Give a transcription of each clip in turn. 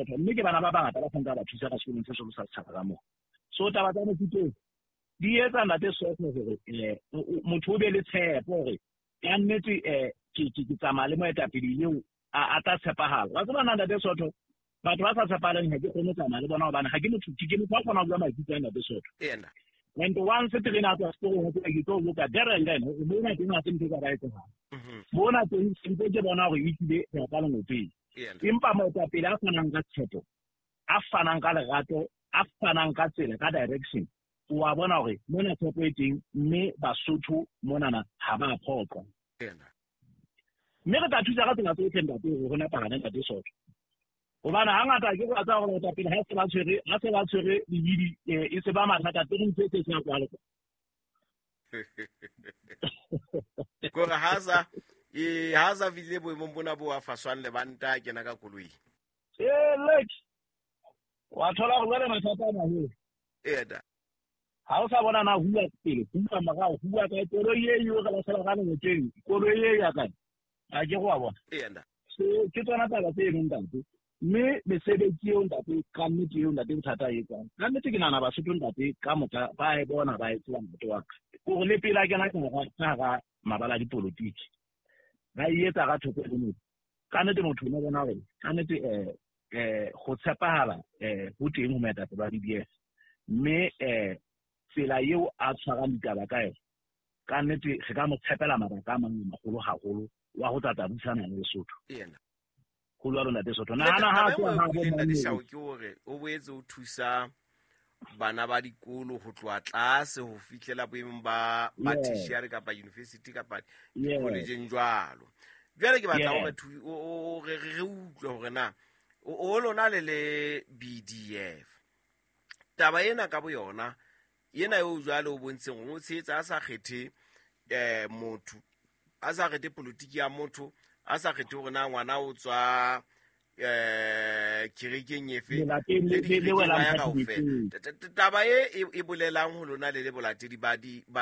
Sotho, mme ke bana ba bangata ba santse ba thusa ka sekolong se seholo sa setjhaba ka moo. So taba tsa mofuta oo di etsa, ntate Sotho, hore motho o be le tshepo hore ka nnete ke tsamaya le moetapele eo a tla tshepahala. Wa tseba na, ntate Sotho, batho ba sa tshepahaleng ha ke kgone ho tsamaya le bona, hobane ha ke motho, ke motho a kgona ho bua maikutlo a, ntate Sotho. And once terene a tswa seporong, ho ke tlo loka there and then hore mona teng ha se ntho e ka ba etsahala. Mona teng sentse ke bona hore ehlile re ya ka lengopeng. Empa moetapele a fanang ka tshepo, a fanang ka lerato, a fanang ka tsela, ka direction, wa bona hore mona tshepo e teng, mme Basotho monana ha ba phoqwa. Mme re tla thusa ka tsela tsotlhe, ntate, hore ho nepahale, ntate Sotho, hobane hangata ke go tsaya gore baetapele ha se ba tshwere, ha se ba tshwere lebidi, e se ba mathata pele ntho e se se ya kwale. Kore ha sa fihlile boemong bona bo a faswang lebanta a kena ka koloi. Ee, lek wa thola gore jwale mathata a maholo. Ena. Ha o sa bona na huwa pele, huwa morao, huwa kae, koloi e eo re lahlela ka lengoteng, koloi e ya kae, a ke go wa bona. Ena. So ke tsona taba tse eno, ntate, mme mesebetsi eo, ntate, ka nnete eo, ntate, bothata e etsang ka nnete, ke nahana Basotho, ntate, ka moka ba e bona, ba e tseba, ntate wa ka, kore le pele a kena ka hara mabala a dipolotiki, ba e etsa ka thoko le motho. Ka nnete motho o ne bona hore ka nnete go tshepahala ho teng ho moetapele wa BDF, mme tsela eo a tshwarang ditaba ka yona, ka nnete re ka mo tshepela mabaka a mang a magolo haholo wa go tlatla busana le Lesotho. Go jwalo, ntate Sotho, nahana ha tloha ha bo Ntate Shao, ke hore o boetse o thusa bana ba dikolo ho tloha tlase ho fihlela boemong ba tertiary kapa university kapa di-collegeng jwalo. Jwale ke batla hore re utlwe hore na o lona le le BDF, taba ena ka boyona ena eo jwale o bontsheng hore o tshehetsa a sa kgethe motho, a sa kgethe politiki ya motho, a sa kgethe hore na ngwana o tswa kerekeng efe le dikerekeng ya kaofela. Taba e bolelang ho lona le le bolatedi ba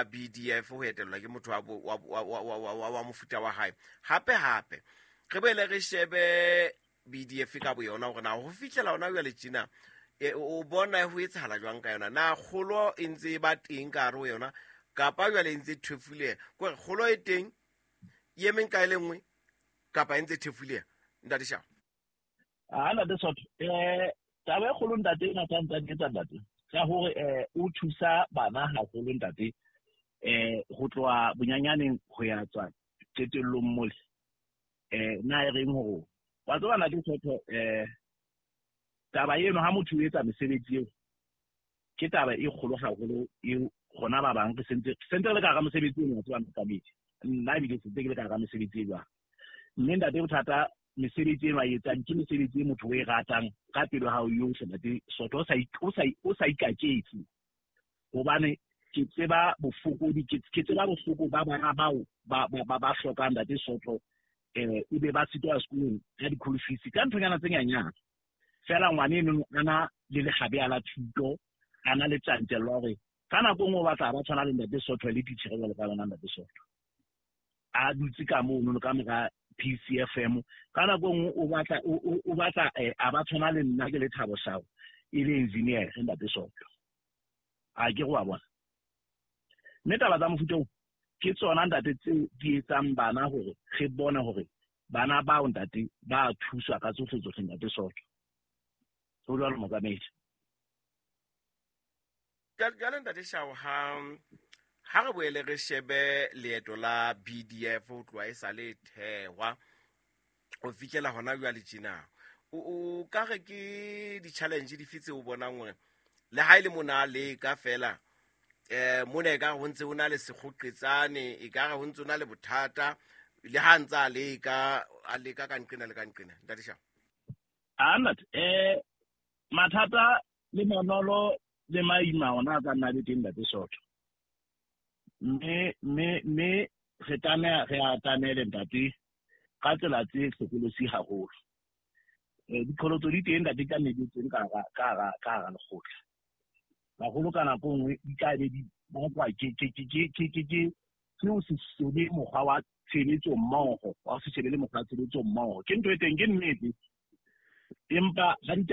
BDF ho etellwa ke motho wa mofuta wa hae. Hape hape re boele re shebe BDF ka boyona, hore na ho fihlela hona jwale tjena o bona ho etsahala jwang ka yona? Na kgolo e ntse e ba teng ka hare ho yona, kapa jwale e ntse e thefuleha? Kore kgolo e teng e emeng ka e le nngwe, kapa e ntse e thefuleha, ntate Shao? A, ntate Sotho, taba e kgolo, ntate, ena tsa ntate etsa, ntate, ka hore o thusa bana haholo, ntate, ho tloha bonyanyaneng ho ya tswa qetellong mole. Na e reng hore wa tseba, ntate Sotho, taba eno ha motho o etsa mesebetsi eo ke taba e kgolo haholo eo rona ba bang re sentse re le ka hara mosebetsi eno. Wa tseba, motsamaisi, nna ebile sentse ke le ka hara mesebetsi e jwang, mme, ntate, bothata mesebetsi eno a e etsang ke mesebetsi e motho o e ratang ka pelo ya hao yohle, ntate Sotho, o sa ikaketse, hobane ke tseba bofokodi, ke tseba bohloko ba bana bao ba hlokang, ntate Sotho, ebe ba sitwa sekolong ka di-school fees, ka nthonyana tse nyanyana fela. Ngwane eno a na le legabe la thuto, a na le tjantjello ya hore ka nako nngwe o batla ba tshwana le ntate Sotho le titjhere jwalo ka yona, ntate Sotho, a dutse ka mono ka mora PCFM. Ka nako nngwe o batla a ba tshwana le nna ke le Thabo Shao, e le engineer, ntate Sotho, a ke go wa bona. Mme taba tsa mofuta oo ke tsona, ntate, tseo di etsang bana hore re bone hore bana bao, ntate, ba thuswa ka tsohle tsohle, ntate Sotho. Ho jwalo, motsamaisi. Jwale, ntate Shao, ha re boele re shebe leeto la BDF ho tloha e sa le thehwa ho fihlela hona jwale tjena. O ka re ke di-challenge dife tse o bonang hore le ha e le mona a leka fela mona e ka re ho ntse ho na le sekgoqetsane, e ka re ho ntse ho na le bothata le ha ntse a leka ka nqena le ka nqena, ntate Shao? A, ntate, mathata le manolo le maima ona a ka nna le teng, ntate Sotho, mme re tlameha re atamele, ntate, ka tsela tse hlokolosi haholo. Diqholotso di teng, ntate, ka nnete teng ka hara lekgotla haholo. Ka nako e nngwe di tla be di bakwa ke ho se shebe mokgwa wa tshebetso mmoho, wa ho se shebe le mokgwa wa tshebetso mmoho. Ke ntho e teng, ke nnete, empa ha di